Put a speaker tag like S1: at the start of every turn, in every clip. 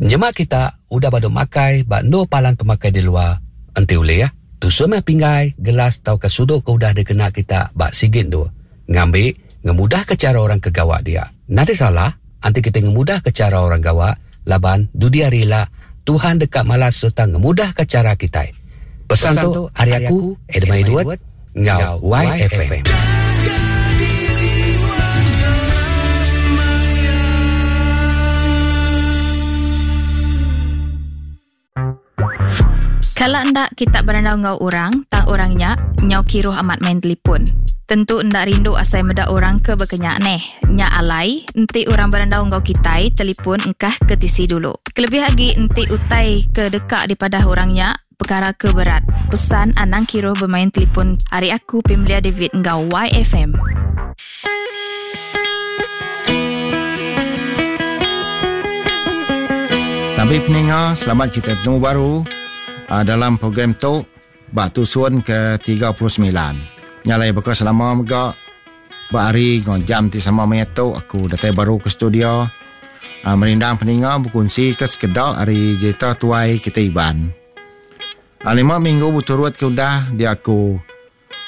S1: Nyema kita udah badu makai ba endur palan pemakai di luar, enti ulih, tusun meh pinggai, gelas tauka sudu ke udah dikena kita ba sigi endur ngambi ngemudahka chara orang ke gawa dia. Nadai salah enti kita ngemudahka chara orang gawa laban dudi hari ila Tuhan deka malas sereta ngemudahka chara kitai. Pesan tu ari aku, Adam Edward enggau YFM.
S2: Kala enda kita berandau enggau orang tang orang nya nyau kiruh amat main telipun. Tentu enda rindu asai meda orang ke bekenya neh. Nya alai, enti orang berandau enggau kitai telipun engkah ke tisi dulu. Kelebih agi enti utai ke deka dipadah orang nya pekara ke berat. Pesan anang kiruh bemain telipun ari aku Pimlia David enggau YFM.
S3: Tabi peninga, selamat kita betemu baru uh, dalam program tu ba tusun ke 39. Nyalai baka selama mega ba hari ngau jam ti sama maya tu aku datai baru ke studio uh, merindang peninga berkunsi ke sekeda ari jerita tuai kita Iban. Uh, lima minggu berturut ke udah dia aku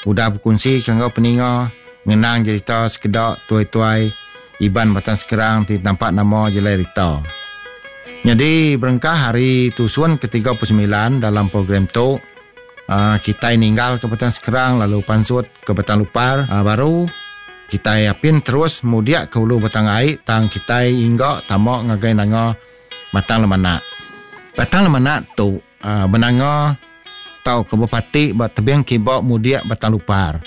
S3: Udah bekunsika enggau peninga ngenang jerita sekeda tuai-tuai Iban Batang Skrang ti tampak nama Jelai Rita. Nyadi berengkah ari tusun ke 39 dalam program tu, kitai ninggalka Batang Skrang lalu pansut ke Batang Lupar baru. Kitai apin terus mudik ke ulu Batang Ai tang kitai ingga tama ngagai nanga Batang Lemanak. Batang Lemanak tu benanga tauka bepati ba tebing kiba mudik Batang Lupar,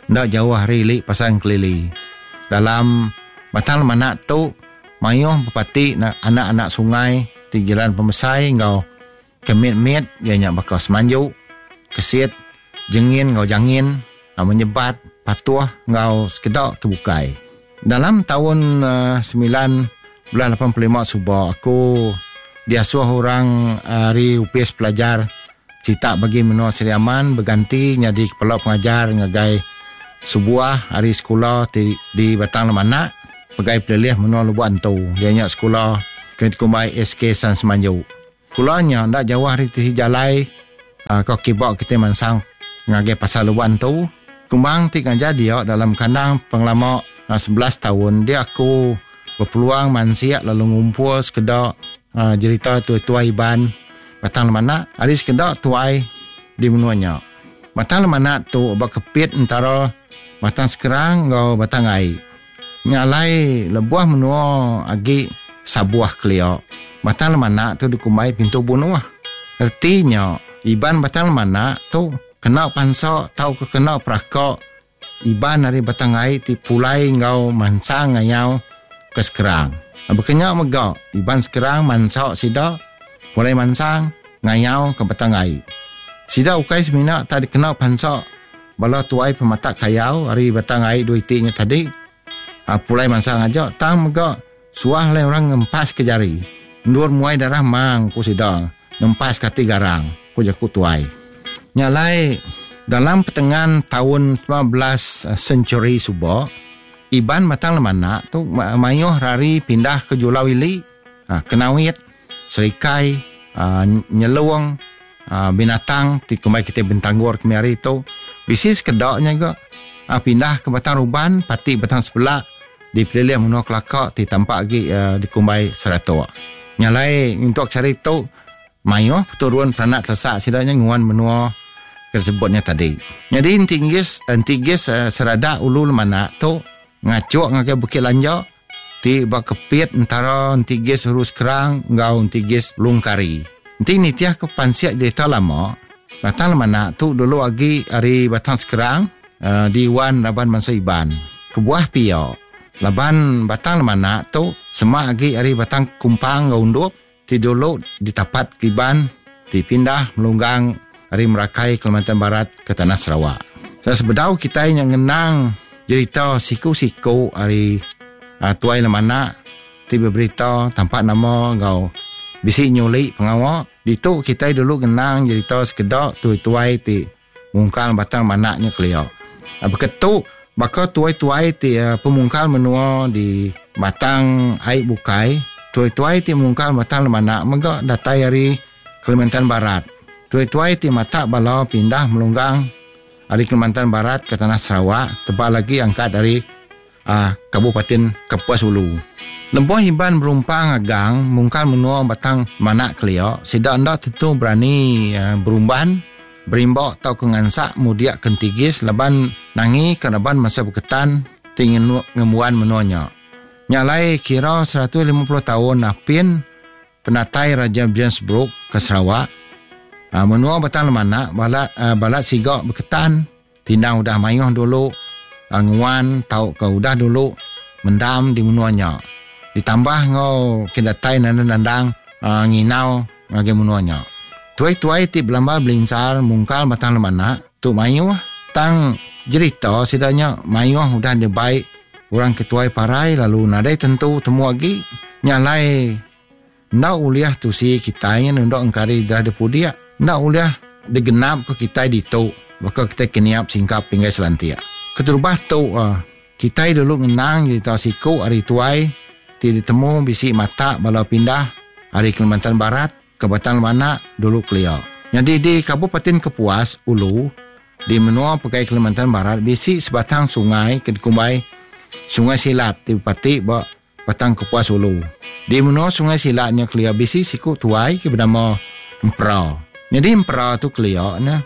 S3: enda jauh ari ili Pasar Engkelili. Dalam Batang Lemanak tu, mayuh bepati anak-anak sungai ti jiran pemesai enggau ke mit-mit iya nya baka Semanju, Kesit, Jengin enggau Jangin, Menyebat, Patuh enggau sekeda ke bukai. Dalam taun 1985 suba aku diasuh orang ari Opis Pelajar Sitak Bagi Menua Sri Aman beganti nyadi kepala pengajar ngagai sebuah ari sekula ti di Batang Lemanak pegai pelilih menua Lubok Antu iya nya sekula ke dikumbai SK San Semanju. Sekula nya enda jauh ari tisi jalai ko kiba kitai mansang ngagai pasar Lubok Antu. Kumbang ti ngajar dia dalam kandang pengelama 11 taun dia aku bepeluang mansik lalu ngumpul sekeda jerita tuai-tuai Iban Batang Lemanak ari sekeda tuai di menua nya. Batang Lemanak tu ba kepit entara Batang Skrang enggau Batang Ai. Nya alai lebuh menua agi sabuh kelia, Batang Lemanak tu dikumbai pintu bunuh. Reti nya, Iban Batang Lemanak tu kena pansa tauka kena peraka Iban ari Batang Ai ti pulai enggau mansang ngayau ke Skrang. Baka nya mega, Iban Skrang mansa sida pulai mansang ngayau ke Batang Ai. Sida ukai semina tak dikena pansa Bala tuai pematak kayau ari Batang Ai dua iti nya tadi pulai mansang aja tang mega suah alai orang ngempas ke jari endur muai darah mang ku sida ngempas ke ati garang ku jaku tuai. Nya alai dalam petengan taun 19 century suba Iban Batang Lemanak tu mayuh rari pindah ke Julau Ili, Kenawit, Serikai, Nyelong, Binatang ti kumbai kitai Bintangor kemi hari tu bisi sekeda nya ga pindah ke Batang Ruban pati Batang Sepelak di pelilih menua Kelaka ti tampak agi dikumbai Saratok. Nya alai nyentuk sehari tu mayuh peturun peranak telesak sida nya nguan menua ke disebut nya tadi. Nyadi enti nggis enti gis Seradak Ulu Lemanak tu ngachuk ngagai Bukit Lanjak ti ba kepit entara Entigis Uru Skrang enggau Entigis Lungkari. Enti nitihka pansik jerita lama, Batang Lemanak tu dulu agi ari Batang Skrang diuan raban bansa Iban. Kebuah pia, laban Batang Lemanak tu semak agi ari Batang Kumpang enggau Undup ti dulu ditapat ke Iban ti pindah melunggang ari Merakai Kalimantan Barat ke tanah Sarawak. Sebedau kitai nya ngenang jerita siku-siku ari Tuai Lemanak ti beberita tampak nama enggau bisi nyuli pengawa, ditu kitai dulu ngenang jerita sekeda tuai-tuai ti mungkal Batang Manak nya kelia. Beketu baka tuai-tuai ti pemungkal menua di Batang Ai bukai. Tuai-tuai ti mungkal Batang Lemanak mega datai ari Kalimantan Barat. Tuai-tuai ti matak bala pindah melunggang ari Kalimantan Barat ke tanah Sarawak tebal agi angkat ari Kabupaten Kapuas Hulu. Lebuh Iban berumpang agang mungkal menua Batang Lemanak kelia, sida enda tentu berani berumban, berimba tauka ngansak mudik ke Entigis laban nangika raban bansa Beketan ti ngembuan menua nya. Nya alai kira 150 taun apin penatai Raja James Brooke ke Sarawak, menua Batang Lemanak balat balat siga Beketan tindang udah mayuh dulu nguan tauka udah dulu mendam di menua nya. Ditambah enggau ke datai nandang-nandang nginau ngagai menua nya. Tuai-tuai ti belambal belinsar mungkal Batang Lemanak tu mayuh tang jerita sida nya mayuh udah dibai orang ke tuai parai lalu nadai tentu temu agi. Nya alai enda ulih tusi kitai nya nunda engkari darah depudik enda ulih digenap ke kitai ditu baka kitai ke niap singkap pinggai selantik. Keterubah tu kitai dulu ngenang jerita siku ari tuai ti ditemu bisi matak bala pindah ari Kalimantan Barat ke Batang Lemanak dulu kelia. Nyadi di Kabupaten Kepuas Ulu di menua pegai Kalimantan Barat bisi sebatang sungai ke dikumbai Sungai Silat ti bepati ba Batang Kepuas Ulu. Di menua Sungai Silat nya kelia bisi siku tuai ke benama Empera. Nyadi Empera tu kelia ne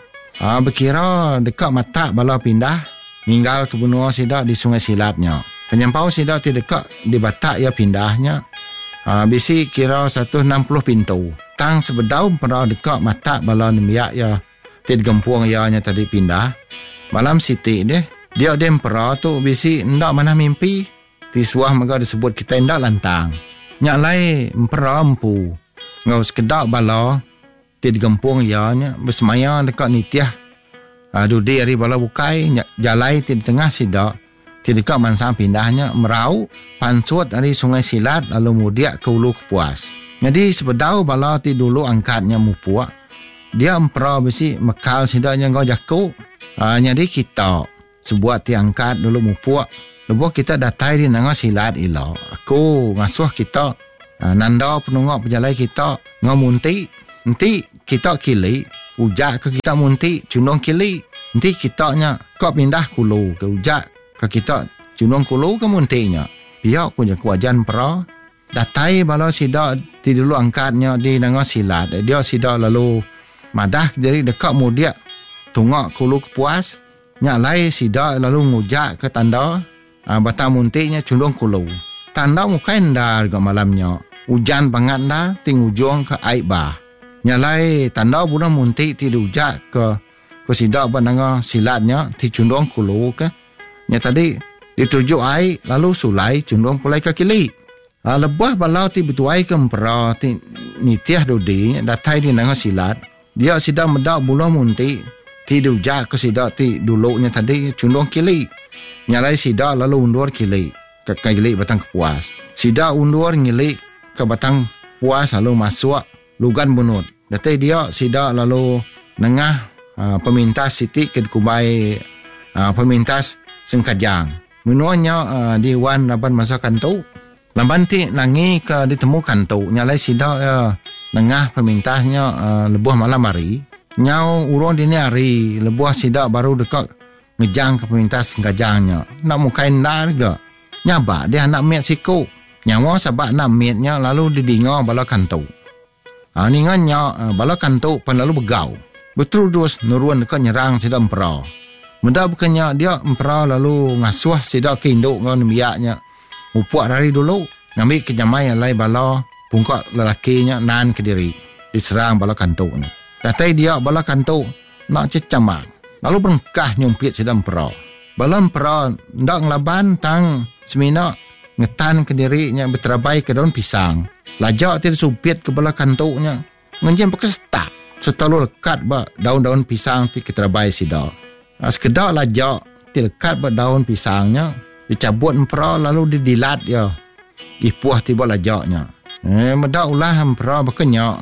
S3: bekira deka matak bala pindah ninggal ke menua sida di Sungai Silat nya. Penyampau sida ti deka dibatak iya pindah nya bisi kira 160 pintu. Tang sebedau Empera deka matak bala nembiak iya ti digempung iya nya tadi pindah, malam siti deh, dia deh Empera tu bisi enda manah mimpi ti suah mega disebut kitai enda lantang. Nya alai Empera empu enggau sekeda bala ti digempung iya nya besemaya deka nitih dudi ari bala bukai nya jalai ti ditengah sida ti deka mansang pindah nya merau pansut ari Sungai Silat lalu mudik ke Ulu Kepuas. Nyadi sebedau bala ti dulu angkat nya mupuk dia empera bisi mekal sida nya enggau jaku nyadi kita sebuat ti angkat dulu mupuk lebuh kita datai di Nanga Silat ila aku ngasuh kita nanda penunga pejalai kita enggau munti enti kita kili ujak ke kita munti chundung kili enti kita nya ka pindah kulu ke ujak ke kita chundung kulu ke munti nya pia ku jaku ajan pera datai bala sida ti dulu angkat nya di Nanga Silat dia sida lalu madah kediri deka mudik tunga kulu Kepuas. Nya alai sida lalu ngujakka tanda batang munti nya chundung kulu. Tanda mukai endar ga malam nya. Ujan bangat endar ti ngujungka ai bah. Nya alai tanda buluh munti ti diujakka ku sida ba nanga silat nya ti chundung kulu ke nya tadi dituju ai lalu sulai chundung pulai ke kili. Lebuh bala ti betuaika empera ti nitih dudi nya datai di nanga silat, Dia sida meda buluh munti ti diujakka sida ti dulu nya tadi chundung kili. Nya alai sida lalu undur kili ke ngili Batang Kepuas. Sida undur ngili ke Batang Puas lalu masuk Lugan Bunut. Datai dia sida lalu nengah pemintas siti ke dikumbai pemintas Sengkajang. Menua nya diuan raban bansa Kantu. Laban ti nangi ke ditemu Kantu nya alai sida iya nengah pemintas nya lebuh malam hari. Nyau urung dini hari lebuh sida baru deka ngejang ke pemintas Engkajang nya. Enda mukai endar ga. Nyabak dih anak mit siku. Nyawa sabak anak mit nya lalu didinga bala Kantu. Ninga nya bala Kantu pan lalu begau. Beterudus nurun deka nyerang sida Empera. Meda baka nya dia Empera lalu ngasuh sida ke indu enggau nembiak nya mupuk rari dulu ngambi ke nyamai alai bala pungka lelaki nya nan kediri diserang bala Kantu nya. Datai dia bala Kantu enda chechamang lalu berengkah nyumpit sida Empera. Bala Empera enda ngelaban tang semina ngetan kediri nya beterabai ke daun pisang. Laja ti disumpit ke bala Kantu nya ngenjing baka setak sereta lalu lekat ba daun-daun pisang ti keterabai sida. Sekeda laja ti lekat ba daun pisang nya dichabut empera lalu didilat iya ipuh ti ba laja nya. Eh meda ulah empera baka nya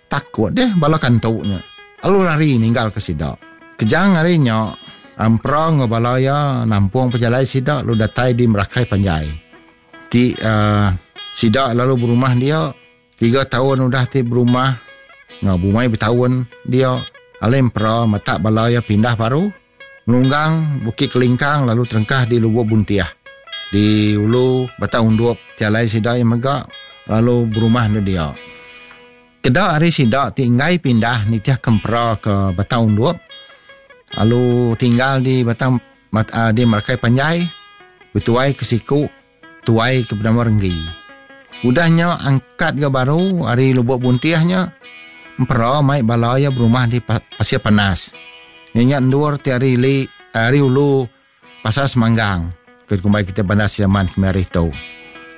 S3: takut deh bala kantu nya lalu rari ninggalka sida. Kejang ari nya empera enggau bala iya nampung pejalai sida lalu datai di Merakai Panjai ti uhh. Sida lalu berumah dia. Tiga taun udah ti berumah enggau bumai betaun dia, alai Empera matak bala iya pindah baru ngelunggang Bukit Kelingkang lalu terengkah di Lubuk Buntih di ulu Batang Undup ti alai sida iya mega lalu berumah enda dia. Keda ari sida ti enggai pindah nitihka Empera ke Batang Undup lalu tinggal di Batang di Merakai Panjai betuai ke siku tuai ke benama Renggi. Udah nya angkat ga baru ari Lubok Buntih nya Empera mai bala iya berumah di Pasir Panas. Iya nya endur ti ari ili ari ulu Pasar Semanggang ke dikumbai kitai Bandar Sri Aman kemari tu.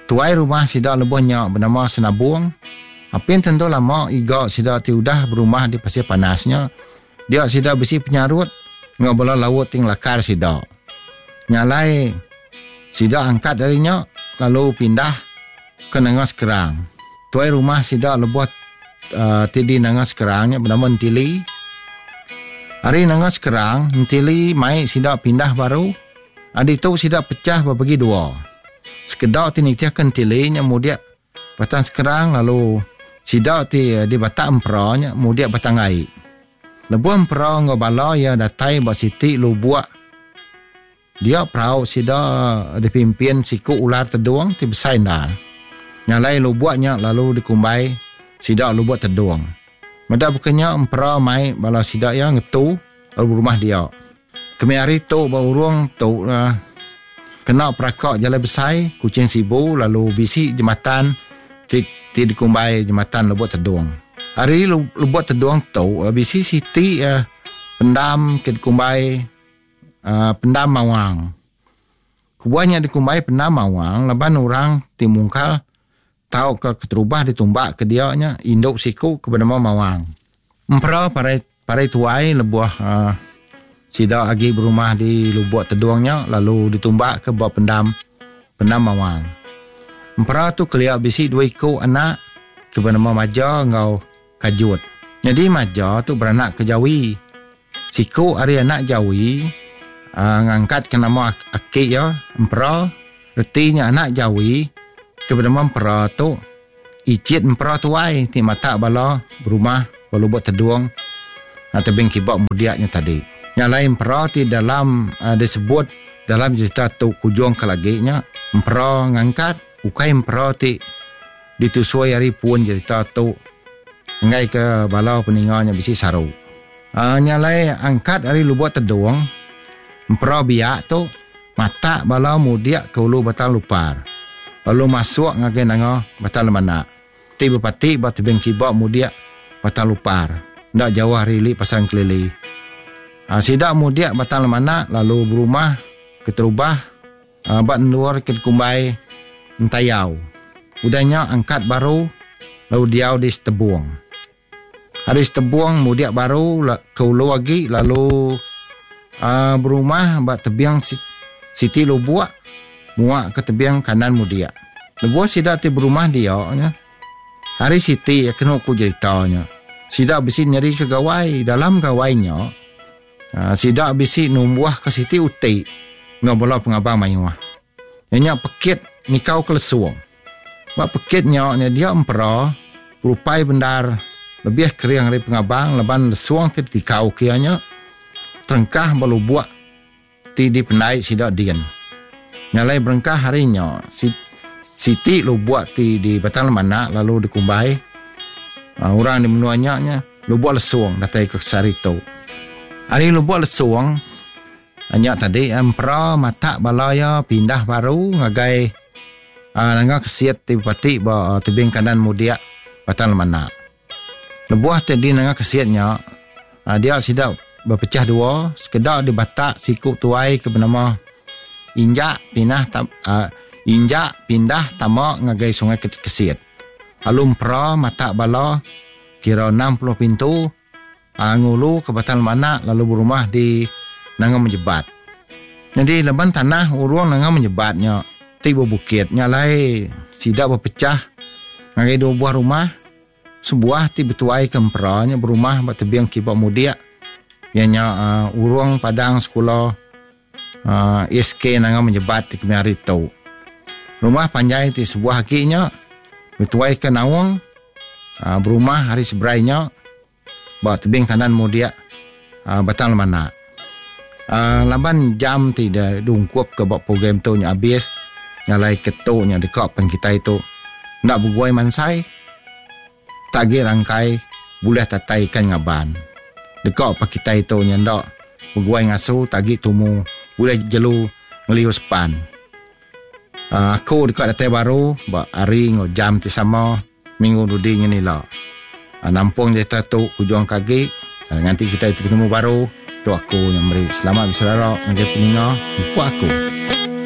S3: Tuai rumah sida lebuh nya benama Senabong. Apin tentu lama iga sida ti udah berumah di Pasir Panas nya dia sida bisi penyarut enggau bala laut ti ngelakar sida. Nya alai Sida angkat ari nya lalu pindah ke Nanga Sekerang. Tuai rumah sida lebuh ti di Nanga Sekerang nya benama Entili. Ari Nanga Sekerang, Entili mai sida pindah baru. Ditu sida pechah bebagi dua. Sekeda ti nitihka Entili nya mudik Batang Sekerang lalu sida ti di Batak Empera nya mudik Batang Ai. Lebuh Empera enggau bala iya datai ba siti lubuk Dia perau sida dipimpin siku ular tedung ti besai endar. Nya alai lubuk nya lalu dikumbai sida Lubuk Tedung. Meda baka nya Empera mai bala sida iya ngetu lalu berumah dia. Kemi hari tu ba urung tu kena peraka jalai besai Kuching Sibu lalu bisi jematan ti ti dikumbai Jematan Lubuk Tedung. Ari Lubuk Tedung tu bisi siti pendam ke dikumbai Pendam Mawang. Kebuah nya dikumbai Pendam Mawang laban orang ti mungkal tauka keterubah ditumbak ke dia nya indu siku ke benama Mawang. Empera parai parai tuai lebuh uhh sida agi berumah di Lubok Tedong nya lalu ditumbak ke ba pendam Pendam Mawang. Empera tu kelia bisi dua iku anak ke benama Maja enggau Kajut. Nyadi Maja tu beranak ke Jawi. Siku ari anak Jawi ngangkatka nama aki iya Empera. Reti nya anak Jawi ke benama Empera tu icit Empera tuai ti matak bala berumah ba Lubok Tedung tebing kiba mudik nya tadi. Nya alai Empera ti dalam disebut dalam jerita tu kujung ke lagi nya Empera ngangkat ukai Empera ti ditusui ari pun jerita tu enggai ke bala peninga nya bisi saru. Nya alai angkat ari Lubok Tedong, Empera Biak tu matak bala mudik ke ulu Batang Lupar lalu masuk ngagai nanga Batang Lemanak ti bepati ba tebing kiba mudik Batang Lupar enda jauh ari ili Pasar Engkelili. Sida mudik Batang Lemanak lalu berumah keterubah ba endur ke dikumbai Entayau. Udah nya angkat baru lalu diau di Setebong. Ari Setebong mudik baru ke ulu agi lalu berumah ba tebing siti lubuk muak ke tebing kanan mudik. Lebuh sida ti berumah dia nya, hari siti kenu ku jerita nya, sida bisi nyerika gawai. Dalam gawai nya, sida bisi numbuhka siti uti enggau bala pengabang mayuh. Iya nya pekit nikau kelesung. Ba pekit nya nya dia empera berupai bendar lebih kering ari pengabang laban lesung ti ditikau ke iya nya terengkah ba lubuk ti dipendai sida din. Nya alai berengkah ari nya siti lubuk ti di Batang Lemanak lalu dikumbai orang di menua nya nya Lubuk Lesung datai ke sehari tu. Ari Lubuk Lesung Nya tadi empera matak bala iya pindah baru ngagai nanga kesit ti bepati ba tebing kanan mudik Batang Lemanak. Lebuh ti di nanga kesit nya dia sida bepechah dua sekeda dibatak siku tuai ke benama Injak pinah Injak pindah tama ngagai Sungai Kesit lalu empera matak bala kira 60 pintu Ngulu ke Batang Lemanak lalu berumah di Nanga Menjebat. Nyadi laban tanah urung Nanga Menjebat nya ti bebukit nya alai sida bepechah ngagai dua buah rumah, sebuah ti betuai ke Empera nya berumah ba tebing kiba mudik iya nya urung padang sekula SK Nanga Menjebat ti kemaya hari tu. Rumah panjai ti sebuah agi nya. Betuaika Naung berumah ari seberai nya ba tebing kanan mudik Batang Lemanak. Laban jam ti diungkupka ba program tu nya abis nya alai ke tu nya deka pen kitai tu enda beguai mansai tak agi rangkai bulih tatai ikan ngaban. Deka pa kitai tu nya enda beguai ngasu tak agi tumu bulih jelu ngeliu sepan. Aku deka datai baru ba hari enggau jam ti sama minggu dudi nyin ila. Nampung jerita tu kujung ke agi nganti kitai ti betemu baru tu aku nya meri selamat beserara ngagai peninga empu aku.